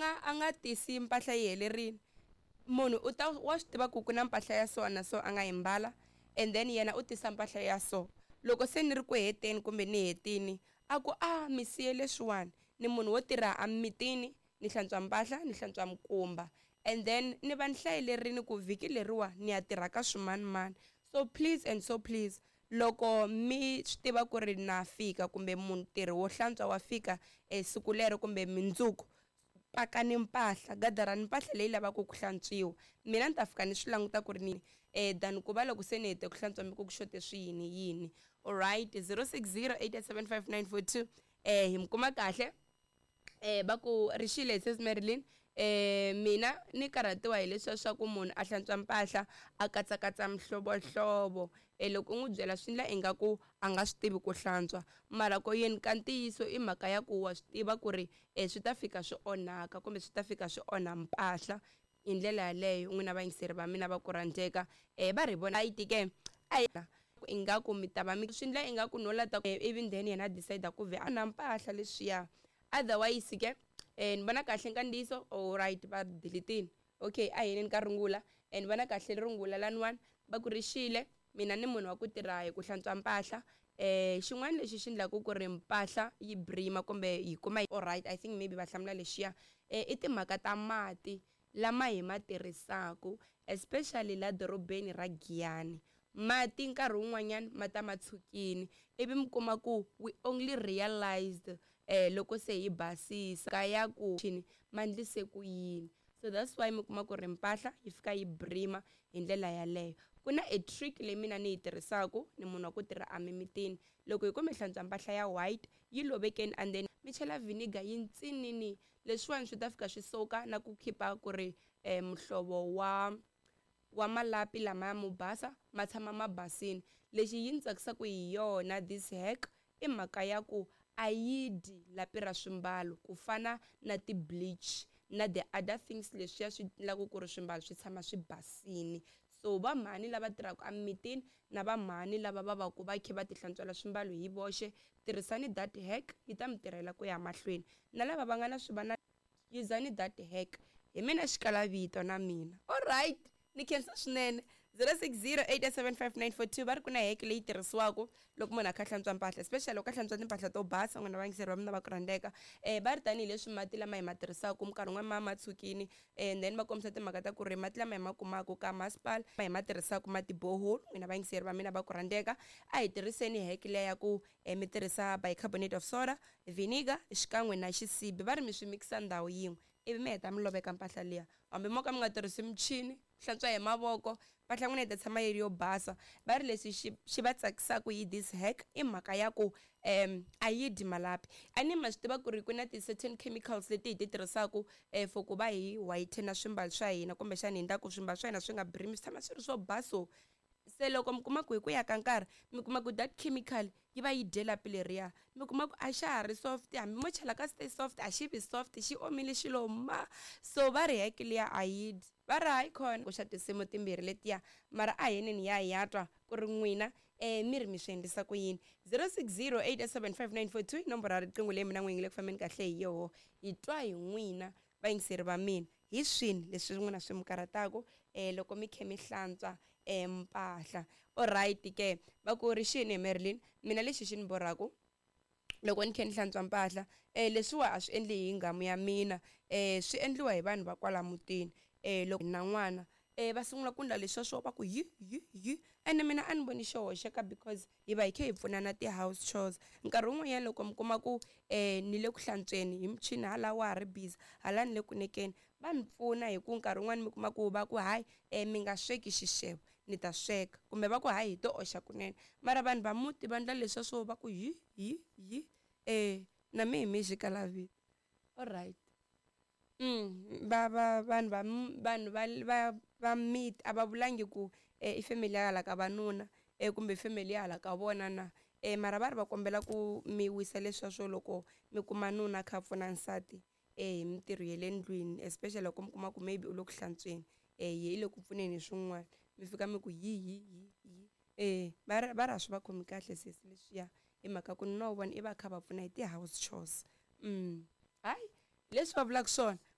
nga a nga tisi mpahla yi helerile. Munhu u ta wa swi tiva ku ku na mpahla ya so na so a nga yi mbala, and then yena u tisa mpahla ya so. Loko se ni ri ku heteni kumbe ni hetini, a ku a mi siye leswiwani. Ni munhu wo tirha emimitini, ni hlantswa mpahla, ni hlantswa mikumba, and then ni va ni hlayelerini ku vhiki leriwa ni ya tirha ka swimanimani. So please and so please, loko mi swi tiva ku ri na fika kumbe mutirhi wo hlantswa wa fika siku lero kumbe mindzuku, pakani mpahla, gadarani mpahla leyi lavaka ku hlantswiwa. Mina ni ta fika ni swi languta ku ri ni than ku va loko se ni hete ku hlantswa mi ku ku xote swi yini yini. Alright, 0608875942, hi mi kuma kahle. Va ku rixile sis Marilyn, mina ni karhatiwa hi leswiya swa ku munhu a hlantswa mpahla a katsakatsa mihlovohlovo. Loko u n'wi byela swi endla ingaku a nga swi tivi ku hlantswa, mara ko yini ka ntiyiso i mhaka ya ku wa swi tiva ku ri swi ta fika swi onhaka kumbe swi ta fika swi onha mpahla hi ndlela yaleyo. N'wina vayingiseri va mina va ku rhandzeka, va ri vona yi tike a ingaku mi ta va mi swi endla ingaku no lata, ivi then yena a decide ku vhe a na mpahla leswiya. Otherwise ke, ni vona kahle nkandziyiso. Alright, va delete-ini. Okay, a hi yeneni ka rungula. Ni vona kahle rungula laniwani, va ku rixile. Mina ni munhu wa ku tirha hi ku hlantswa mpahla. Xin'wana lexi xi endlaku ku ri mpahla yi brima kumbe yi kuma, alright, I think maybe va hlamula lexiya, i timhaka ta mati lama hi ma tirhisaku, especially la dorobeni ra Giyani. Mati nkarhi wun'wanyana ma ta ma tshukini, ivi mi kuma ku we only realized loko se hi basisa ka ya ku ma ndlise ku yini. So that's why mi kuma ku ri mpahla yi fika yi brima hi ndlela yaleyo. Ku na a trick leyi mina ni yi tirhisaku, ni munhu wa ku tirha emimitini. Loko hi ku mi hlantswa mpahla ya white, yi lovekeni and then mi chela vinegar yi ntsinini, leswiwani swi ta fika swi soka na ku khipa ku ri muhlovo wa malapi lama ya mo basa ma tshama ma basini. Lexi yi ni tsakisaka hi yona this hack i mhaka ya ku a yi dyi lapi ra swimbalo ku fana na ti-bleach na the other things leswiya swi endlaka ku ri swimbalo swi tshama swi basini. So va mhani lava tirhaka emimitini na va mhani lava va va ku va kha va ti hlantswela swimbalo hi voxe, tirhisani that hack, yi ta mi tirhela ku ya mahlweni. Na lava va nga na swivana, yuzani that hack. Hi mina xikalavito na mina. Alright, ni khensa swinene. 0608875942, va ri ku na hack leyi tirhisiwaka loko munhu a kha a hlantswa mpahla, especially loko a hlantswa timpahla to basa. N'wina vayingiseri va mina va ku rhandzeka, va ri tanihileswi mati lama hi ma tirhisaka minkarhi wun'wani ma ma tshukini, and then va kombisa timhaka ta ku ri mati lama hi ma kumaka ka masipala hi ma tirhisaka ma ti-borehole. N'wina vayingiseri va mina va ku rhandzeka, a hi tirhiseni hack leya ya ku mi tirhisa bicarbonate of soda, vinegar xikan'we na xisibi. Va ri mi swi mikisa ndhawu yin'we, ivi mi heta mi loveka mpahla liya. Hambi mo ka mi nga tirhisi michini, hlantswa hi mavoko, mpahla n'wina yi ta tshama yi ri yo basa. Va ri leswi xi xi va tsakisaka hi this hack i mhaka ya ku a yi dyi malapi. A ni ma swi tiva ku ri ku na ti-certain chemicals leti hi ti tirhisaka for ku va hi whiten swimbalo swa hina, kumbexana hi endla ku swimbalo swa hina swi nga brimi, swi tshama swi ri swo baso. Se loko mi kuma ku hi ku ya ka nkarhi mi kuma ku that chemical yi va yi dye lapi leriya, mi kuma ku a xa ha ri soft, hambi mo chela ka stay soft a xi vi soft, xi omile xi lo ma. So va ri hack liya a yi dyi. Va ri hayi khona ku xa tinsimu timbirhi letiya, mara a heneni ya hi ya twa ku ri n'wina mi ri mi swi endlisa ku yini. 0608875942 i nomboro ya riqingho leyi mina n'winyi ngi le ku fambeni kahle hi yoho. Hi twa hi n'wina vayingiseri va mina, hi swini leswi n'wina swi mi karhataka loko mi kha mi hlantswa mpahla. Alright ke, va ku ri xini hi Marilyn, mina lexi xi ni borhaku loko ni kha ni hlantswa mpahla, leswiwa a swi endli hi nghamu ya mina, swi endliwa hi vanhu va kwala mutini. Loko na n'wana, va sungula ku endla leswiya swo va ku yi yi yi, ene mina a ni voni xi hoxeka because hi va hi kha hi pfunana ti-house chores. Nkarhi wun'wanyana loko mi kuma ku ni le ku hlantsweni hi michini hala wa ha ri busy, hala ni le ku nekeni, va ni pfuna hi ku nkarhi wun'wani mi kuma ku va ku hayi, mi nga sweki xixevo, ni ta sweka, kumbe va ku hayi hi to oxa kunene. Mara vanhu va muti va endla leswiya swo va ku yi yi yi, na mehe hi mehe xikalavito. Alright, va va vanhu va vanhu va va va miti a va vulangi ku i family ya hala ka vanuna kumbe family ya hala ka vona na, mara va ri va kombela ku mi wisa leswiya swo loko mi kuma nuna a kha a pfuna nsati hi mintirho ya le ndlwini, especially loko mi kuma ku maybe u le ku hlantsweni, yehe i le ku pfuneni hi swin'wana, mi fika mi ku yi yi yi yi. Va ri va ri a swi va khomi kahle sesi leswiya, hi mhaka ku nuna wa vona i va a kha a va pfuna hi ti-house chores. Hayi leswi va vulaka swona.